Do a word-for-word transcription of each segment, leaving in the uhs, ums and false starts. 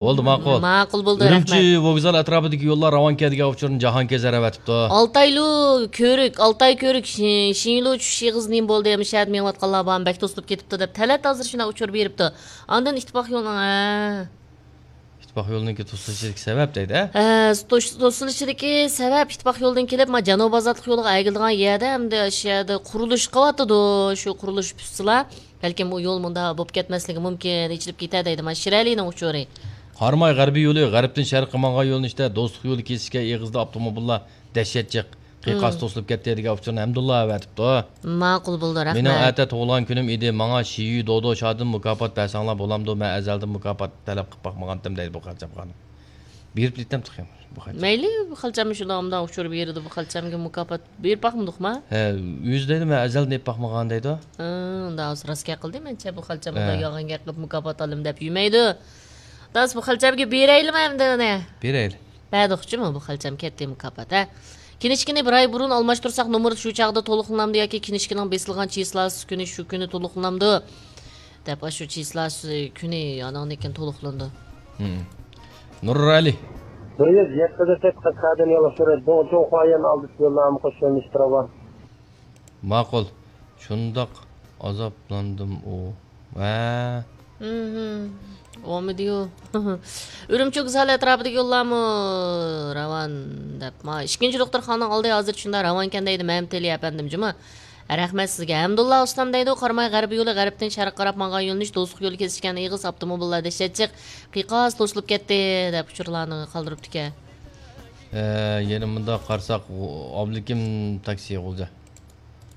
بولدى، ماقۇل. ماقۇل بولدى، ئۈرۈمچى رەھمەت. ۋوگزال ئەتراپىدىكى يوللار راۋان كەن دېگەن ئۇچۇرنى جاھانكەزەر ئەۋەتىپتۇ. ئالتايلۇ كۆۋرۈك، ئالتاي كۆۋرۈك، شى-، شىنلۇ چۈشۈش ئېغىزى نېمە بولدى؟ ئەمما شەھەردە مېڭىۋاتقانلار بارمۇ؟ بەك توسۇلۇپ كېتىپتۇ دەپ تەلەت ھازىر شۇنداق ئۇچۇر بېرىپتۇ. ئاندىن ئىتتىپاق يولىنىڭ، ھە. ئىتتىپاق يولىنىڭكى توسۇلۇشىدىكى سەۋەب دەيدۇ، ھە؟ ھە، توس-، توسۇلۇشىدىكى سەۋەب ئىتتىپاق يولىدىن كېلىپ، ما جەنۇب ئازادلىق يولىغا ئەگىلىدىغان يەردە، ئەمدى شۇ يەردە قۇرۇلۇش قىلىۋاتىدۇ. شۇ قۇرۇلۇش پۈتسىلا، بەلكىم ئۇ يول مۇنداق بولۇپ كەتمەسلىكى مۇمكىن، ئېچىلىپ كېتەر دەيدۇ. مانا شىرئەلىنىڭ ئۇچۇرى. قاراماي غەربىي يولى غەربتىن شەرققە ماڭغان يۆنىلىشتە دوستلۇق يولى كېسىشكەن ئېغىزدا ئاپتوموبىللار دەھشەت جىق، قىيقاس توسۇلۇپ كەتتى دېگەن ئۇچۇرنى ھەمدۇللا ئەۋەتىپتۇ. ماقۇل بولدى، رەھمەت. مېنىڭ ئەتە تۇغۇلغان كۈنۈم ئىدى، ماڭا شىيۈ دودو شادىن مۇكاپات بەرسەڭلار بولامدۇ؟ مەن ئەزەلدىن مۇكاپات تەلەپ قىلىپ باقمىغانتىم دەيدۇ بۇ خەلچەم خانىم. بېرىپ كېتەم تېخى بۇ خەلچەم. مەيلى، بۇ خەلچەممۇ شۇنداق مۇنداق ئۇچۇر بېرىدۇ، بۇ خەلچەمگە مۇكاپات بېرىپ باقمىدۇقما؟ ھە، ئۆزى دەيدۇ، مەن ئەزەلدىن ئېلىپ باقمىغان دەيدۇ. ھە، ئۇنداق بولسا راست گەپ قىلدى، مەنچە بۇ خەلچەم ھە. بۇنداق يالغان گەپ قىلىپ مۇكاپات ئالىمەن دەپ يۈرمەيدۇ. داس، بۇ خەلچەمگە بېرەيلىمۇ ئەمدى ئۇنى؟ بېرەيلى. بەردۇقچىمۇ بۇ خەلچەم كەتتى مۇكاپات، ھە؟ كىنىشكىنى بىر ئاي بۇرۇن ئالماشتۇرساق، نومۇر شۇ چاغدا تولۇقلىنامدۇ ياكى كىنىشكىنىڭ بېسىلغان چىسلاسى كۈنى شۇ كۈنى تولۇقلىنامدۇ؟ دەپ، ئاشۇ چىسلاسى كۈنى ئاناڭدىن كېيىن تولۇقلىنىدۇ. ھىم. نۇرئەلى. بىر يۈز يەتتە دەپ قەدەم ياللىشىدۇ. جۇڭخۇايەن ئالدى يوللارمۇ قوشۇلمىشتۇرۇۋال. ماقۇل. شۇنداق ئازابلاندىم ئۇ. ۋە. مھم. ئومىدىيۇ. ئۈرۈمچى ۋوگزالى ئەتراپىدىكى يوللارمۇ راۋان دەپ. ما، ئىككىنچى دوختۇرخانىنىڭ ئالدى ھازىر شۇنداق راۋانكەن دەيدۇ، مەمتىلى ئەپەندىم جۇمۇ. رەھمەت سىزگە. ھەمدۇللا ئۇستام دەيدۇ، قاراماي غەربىي يولى غەربتىن شەرققە قاراپ ماڭغان يۆنىلىش دوستلۇق يولى كېسىشكەن ئېغىز ئاپتوموبىللار دەھشەت جىق، قىيقاس توسۇلۇپ كەتتى، دەپ ئۇچۇرلارنى قالدۇرۇپتىكەن. ھە، يەنە مۇنداق قارىساق، ئابلىكىم تاكسى غۇلجا.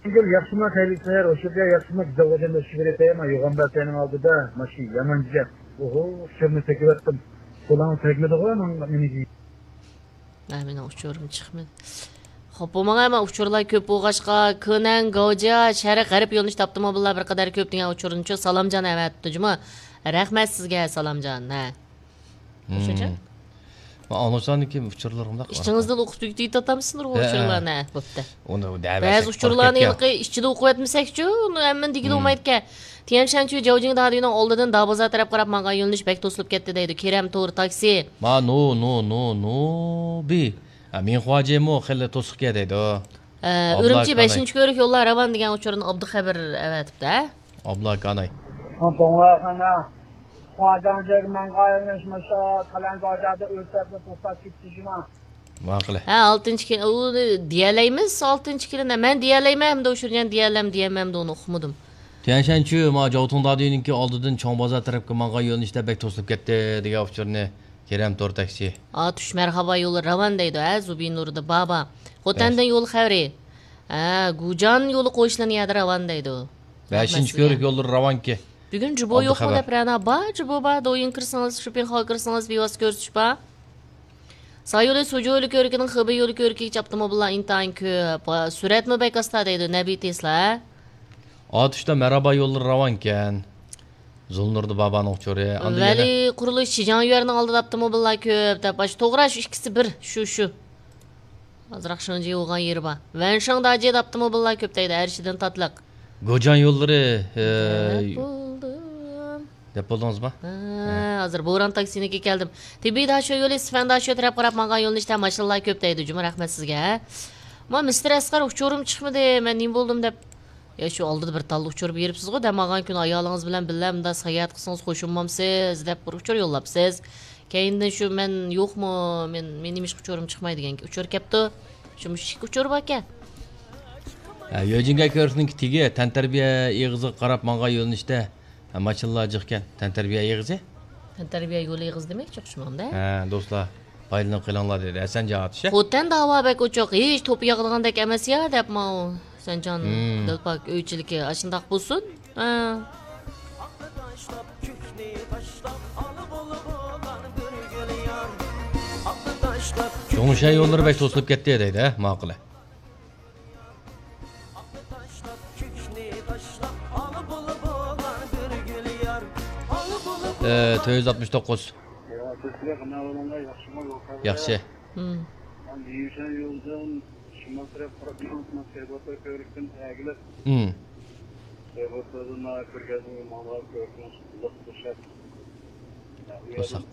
گۈل، ياخشىما، خەيرلىك سەھەر، ئوشۇرجا، ياخشىما، گۈزەل خوجام، ئۆتۈشۈپ بېرەي، ما يوغان بەتەينىڭ ئالدىدا، ماشىنا يامان جىق. ئوھو، ئۇچۇرنى تېگىۋەتتىم. قولۇڭ تەگمىدىغۇ، ماڭا، مېنى. ھە، مېنىڭ ئۇچۇرۇم چىقمىدى. خوپ، بۇ ماڭا ئەمما ئۇچۇرلار كۆپ بولغاچقا، كۆنەن، گاۋجيا، شەرق، غەرب يۆنىلىشىدە ئاپتوموبىللار بىر قەدەر كۆپ دېگەن ئۇچۇرنىچۇ سالامجان ئەۋەتىپتۇ جۇمۇ. رەھمەت سىزگە، سالامجان. ھە. مۇشۇنچە؟ مم. مانا ئاڭلىساڭدىكى ئۇچۇرلىرىڭدا ئىچىڭىزدىن ئوقۇپ تۈگىتىۋاتامسىلەر ئۇ ھە. ئۇچۇرلارنى، ھە، بوپتۇ. ئۇنى دەۋەرسەك بەزى ئۇچۇرلارنى ھېلىقى ئىچىدە ئوقۇۋەتمىسەكچۇ، ئۇنى ھەممىنى دېگىلى مم. بولمايدىكەن. تيەنشەنچۈ جاۋجىڭ دادىيىنىڭ ئالدىدىن دابازار تەرەپ قاراپ ماڭغان يۆنىلىش بەك توسۇلۇپ كەتتى دەيدۇ. كېرەم تور تاكسى. ما نو، نو، نو، نو، بى. ھە، مىڭخۇاجيېنمۇ خېلى توسۇقكەن دەيدۇ. ئە، ئابلا ئۈرۈمچى كاناي. بەشىنچى كۆۋرۈك يوللار راۋان دېگەن ئۇچۇرنى ئابدۇخەبىر ئەۋەتىپتۇ، ھە؟ ئابلا كاناي. ھە، توڭلار خانا. خۇاجاڭ جەرمەنغا يەنەشمىسا، قەلەندارجادا ئۆز تەرىپىدە توختاپ كېتىشىما. ماقۇل. ھە، ئالتىنچى كېلىن، ئۇنى دېيەلەيمىز، ئالتىنچى كېلىن. مەن دېيەلەيمەن، ھەمدە ئۇچۇرجان دېيەلەم، دېيەلمەمدۇ، ئۇنى ئۇقمىدىم. تيەنشەنچۈ، ما جاۋتۇڭ دادىنىڭكى ئالدىدىن چوڭ بازار تەرەپكە ماڭغان يۆنىلىشتە بەك توسۇلۇپ كەتتى، دېگەن ئۇچۇرنى كېرەم تور تاكسى. ئاتۇش مەرھابا يولى راۋان دەيدۇ، ھە، زۇبىنۇردا بابا. خوتەندىن يول خەۋىرى. ھە، گۇجان يولى قوشۇلغان يەردە راۋان دەيدۇ. بەشىنچى رەھمەت سىزگە. كۆۋرۈك يوللىرى راۋانكى. بۈگۈن جۇبو يوقمۇ دەپ رەنا؟ بار، جۇبو بار، دويىن كىرسىڭىز، شوپىڭ خاغا كىرسىڭىز، بىۋاسىتە كۆرسىتىش بار. سايولى سۇجۇ يولى كۆۋرۈكىنىڭ خېبېي يولى كۆۋرۈكىگىچە ئاپتوموبىللار ئىنتايىن كۆپ. سۈرئەتمۇ بەك ئاستا دەيدۇ، نەبى تېسلا. ئاتۇشتا مەرھابا يوللىرى راۋانكەن. زۇلنۇردا بابانىڭ ئۇچۇرى. ئاندىن ۋەلى يەنە قۇرۇلۇش شىجاڭ يۈەننىڭ ئالدىدا ئاپتوموبىللار كۆپ دەپ، ئاشۇ توغرا، شۇ ئىككىسى بىر، شۇ، شۇ. ئازراق شىڭجى بولغان يېرى بار. ۋەنشاڭ داجىدا ئاپتوموبىللار كۆپ دەيدۇ، ئەرشىدىن تاتلىق. گوجان يوللىرى، ئە، دەپ بولدۇم. دەپ بولدىڭىزمۇ؟ ھە، ھە. ھازىر بوران تاكسىنىڭكىگە كەلدىم. تىبىي داشۆ يولى سىفەن داشۆ تەرەپ قاراپ ماڭغان يۆنىلىشتە ماشىنىلار كۆپ دەيدۇ جۇمۇ، رەھمەت سىزگە. ما مىستېر ئەسقەر، ئۇچۇرۇم چىقمىدى، مەن نېمە بولدۇم دەپ. يا، شۇ ئالدىدا بىر تاللا ئۇچۇر بېرىپسىزغۇ، دەم ئالغان كۈنى ئايالىڭىز بىلەن بىللە مۇنداق ساياھەت قىلسىڭىز خوش بولمامسىز دەپ بىر ئۇچۇر يوللاپسىز. كەينىدىن شۇ مەن يوقمۇ، مەن، مېنىڭ نېمىشقا ئۇچۇرۇم چىقماي دېگەن ئۇچۇر كەپتۇ. شۇ مۇشۇ ئىككى ئۇچۇر باركەن. ھە، يۆجىڭگە كۆرۈشنىڭكى تېگى تەنتەربىيە ئېغىزىغا قاراپ ماڭغان يۆنىلىشتە، ھە، ماشىنىلار جىقكەن. تەنتەربىيە ئېغىزى؟ تەنتەربىيە يولى ئېغىزى دېمەكچى ئوخشىمامدۇ؟ ھە، دوستلار، پايدىلىنىپ قېلىڭلار دېدى ھەسەنجان ئاتۇش. خوتەندە ھاۋا بەك ئوچۇق، ھېچ توپا ياغىدىغاندەك ئەمەس يا دەپ ماۋۇ. سەنجان مم. دىلپاك ئۆيچىلىكى ئاشۇنداق بولسۇن. ھە. جۇڭشەن يوللىرى بەك توسۇلۇپ كەتتى دەيدۇ، ھە، ماقۇل. ئە، تۆت يۈز ئاتمىش توققۇز. ياخشى. مم. شىمال تەرەپ قاراپ مېڭىڭ، سەيباتار كۆۋرۈكتىن ئەگىلىپ. مم. سەيباتاردىن كۆرگەزمىگە ماڭىدىغان كۆۋرۈكنىڭ ئۇزاق بوشاپ. توساق.